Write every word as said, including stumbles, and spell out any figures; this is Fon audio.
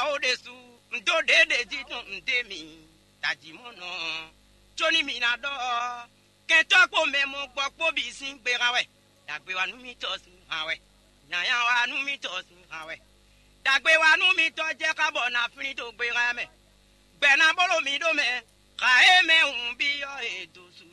Ó ɖésú, un dó ɖěɖě jí tɔn un dé mi tají mɔ̌ nɔ, có ní mi ná ɖɔ ɔ́, kɛntɔ́ kpó mɛ mɔ gbɔ kpó bǐ sín gbe hán wɛ. Dǎgbe wa nú mitɔ́ sín hán wɛ, nyanya wa nú mitɔ́ sín hán wɛ. Dǎgbe wa nú mitɔ́ jɛ xá bɔ na flín dó gbe hán mɛ. Gbɛ ná bló mi ɖó mɛ, xa e mɛ hǔn byɔ́ e dó su.